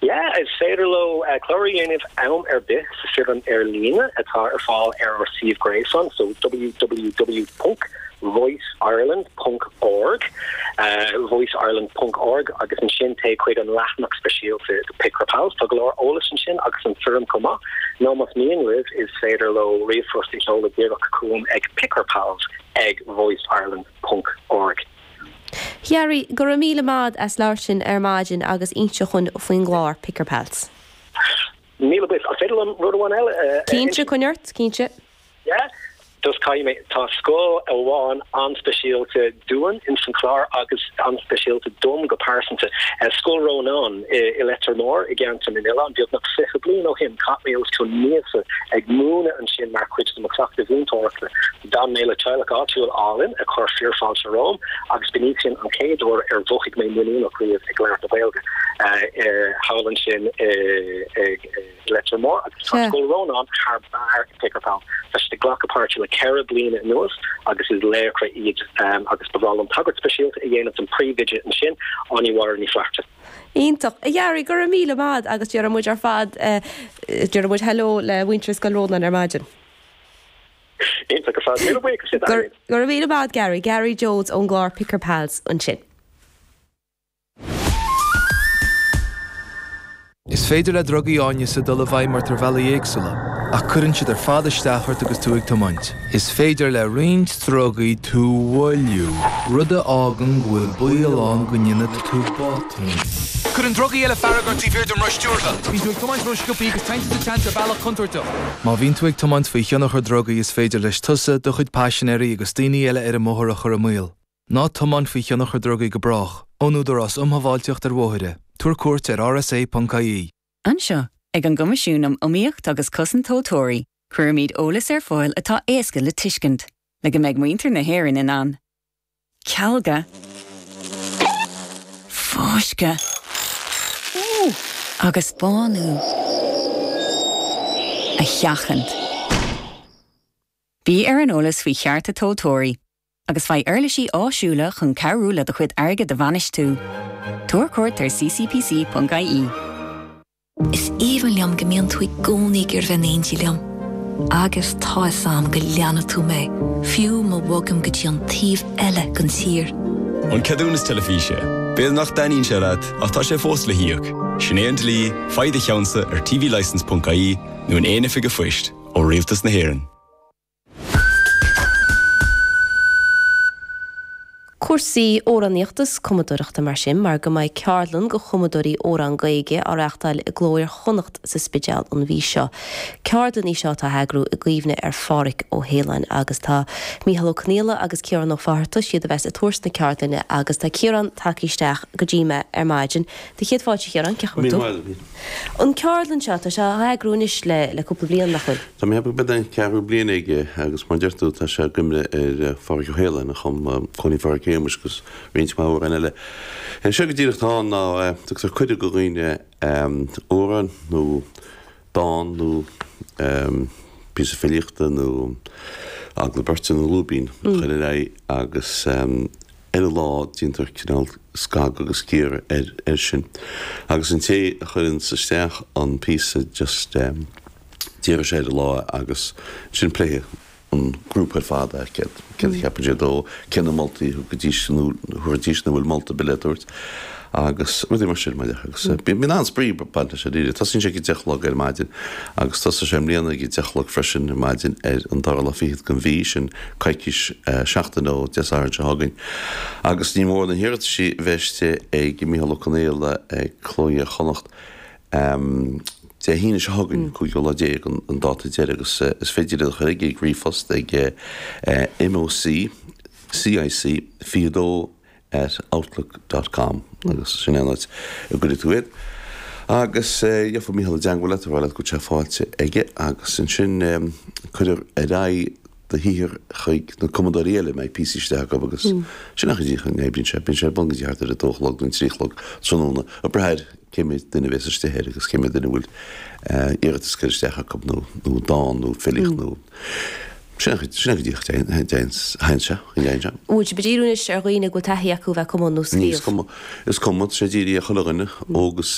Yeah, is féidir leo clárú a dhéanamh am ar bith sa foirm ar líne atá ar fáil ar ár suíomh gréasáin, so www ponc voiceireland ponc org, voiceireland ponc org, agus ansin téigh chuig an leathanach speisialta do Pick Our Pals. Tá go leor eolais ansin agus an foirm chomh maith. Nó más mian libh, is féidir leo ríomhphost a sheoladh díreach chugam ag pickourpals ag voiceireland ponc org. Gary, go raibh míle maith as labhairt linn ar maidin agus inse dhúinn faoin gclár Pick Our Pals. Míle buíochas. An féidir liom rud amháin eile a inse? Cinnte, coinnigh ort, cinnte. Yeah. Just caithfidh mé, tá scoil amháin an-speisialta dúinn ins an chlár agus an-speisialta dom go pearsanta. Scoil Rónáin i Leitir Móir i gCeantar na nOileán, beagnach 20 bliain ó shin chaith mé os cionn míosa ag múineadh ansin mar chuid de mo chleachtadh mhúinteoireachta. D'fhan mé le teaghlach áitiúil álainn a chuir fíorfháilte romham agus b'in í sin an chéad uair ar mhothaigh mé muiníneach riamh ag labhairt na Gaeilge thall ansin i Leitir Móir agus tá Scoil Rónáin thar barr i Pick Our Pals. Tá siad ag glacadh páirte le 4 bliana anuas agus is laochra iad agus ba bhreá liom tagairt speisialta a dhéanamh don phríomhoide ansin, Áine Mháire Ní Flatharta. Iontach. A Ghearaí, go raibh míle maith agat agus déarfaidh muid ar fad, déarfaidh muid hello le muintir Scoil Rónáin ar maidin. Iontach ar fad. Míle buíochas libh, Irene. Go raibh míle maith agat, Gary. Gary Jones ón gclár Pick Our Pals ansin. Is féidir le drugaí áineasa dul i bhfeidhm ort ar bhealaí éagsúla, ach cuireann siad ar fad isteach ort agus tú ag tiomáint. Is féidir le roinnt drugaí tú a mhoilliú, rud a fhágann go bhfuil baol ann go ndéanfaidh tú botún. Cuireann drugaí eile fearg ort taobh thiar den roth stiúrtha. Bíonn tú ag tiomáint ró-sciobtha agus téann tú sa tseans ar bhealach contúirteach. Má bhíonn tú ag tiomáint faoi thionchar drugaí is féidir leis tusa, do chuid paisinéirí agus daoine eile ar an mbóthar a chur i mbaol. Ná tiomáin faoi thionchar drugaí go brách. Ón Údarás um Shábháilteacht ar Bhóithre, tabhair cuairt ar rsa.ie. Anseo, ag an gCoimisiún um Iomaíocht agus Cosaint Tomhaltóirí, cuirimid eolas ar fáil atá éasca le tuiscint, le go mbeidh muintir na hÉireann in ann cealga, fáisceadh agus bánú a sheachaint. Bí ar an eolas faoi chearta tomhaltóirí agus faigh uirlisí áisiúla chun cabhrú le do chuid airgid a bhainistiú. Tabhair cuairt ar ccpc.ie. Is aoibhinn liom go mbíonn tú i gcónaí ag iarraidh bheith in éindí liom. Agus tá 'fhios a'm go leanfaidh tú mé, fiú má bhogaim go dtí an taobh eile den tír. An ceadúnas teilifíse. B'fhéidir nach dtaitníonn sé leat, ach tá sé fós le híoc. Sin é an dlí, faigh do cheannsa ar tvlicence.ie nó in aon oifig an phoist, ó Rialtas na hÉireann. Cúrsaí amhránaíochta is cumadóireachta mar sin, mar go mbeidh ceardlann do chumadóirí amhrán Gaeilge á reáchtáil i gCló Iar-Chonnacht sa Spidéal an mhí seo. Ceardlann í seo atá á heagrú i gcuimhne ar Phádhraic Ó hAoláin agus tá Mícheál Ó Conghaile agus Ciarán Ó Fátharta, siad a bheas ag tabhairt na ceardlainne agus tá Ciarán tagtha isteach go dtí mé ar maidin. Do chéad fáilte a Chiaráin, cén chaoi a bhfuil tú? An ceardlann seo, tá sé á eagrú anois le cúpla bliain, nach bhfuil? Tá mé ag ceapadh gurb é an ceathrú bliain aige agus mar a deir tú tá sé i gcuimhne ar Phádhraic Ó hAoláin a chum Cóilín Phádraic Shéamuis agus roinnt mhaith amhrán eile. Sé go díreach atá ann ná tugtar cuireadh do dhaoine amhrán nó dán nó píosa filíochta nó agallamh beirte nó lúibín a chur ar aghaidh agus ar an lá déantar cineál scagadh agus cíoradh air sin agus an té a chuireanns isteach an píosa just déarfaidh sé ar an lá agus ansin pléifidh an grúpa ar fad é, céard a cheapann siad dó, cé na moltaí a thugaidís nó thabharfaidís nó bhfuil molta ar bith le tabhairt agus rudaí mar sin maidir agus bíonn an-spraoi ag baint leis dáiríre. Tosaíonn sé ag a deich a chlog ar maidin agus tosóidh sé i mbliana ag a deich a chlog freisin ar maidin ar an dara lá fichead den mhí, sin coicís, seachtain ó Dé Sathairn seo chugainn. Agus ní mór na hiarrataisí a bheith istigh ag Mícheál Ó Conghaile ag Cló Iar-Chonnacht Dé hAoine seo chugainn, cúigiú lá déag an dáta deiridh agus is féidir iad a chur chuige ag ríomhphost ag MOC CIC 22 at outlook dot com agus sin é an áit a gcuirfidh tú iad. Agus gheobhaidh Mícheál i dteangmháil leat a rá leat go bhfuil sé faighte aige agus ansin cuirfear ar aghaidh do shaothar chuig na cumadóirí eile a mbeidh píosaí istigh acu agus sin an chaoi a n-oibríonn sé. Bíonn sé ar bun go dtí thart ar a dó a chlog nó a trí a chlog tráthnóna ag brath ar cé mhéad duine a bhéas istigh air agus cé mhéad duine a bhfuil iarratas curtha isteach acu nó nó dán nó filíocht nó sin an sin an chaoi a dtéann sé, a dtéann sé. Bhfuil sibh ag díriú anois ar dhaoine go bhfuil taithí acu a bheith ag cumadh nó Ní is scríobh? cuma, is cuma, tá sé dírithe ar chuile dhuine, óg is.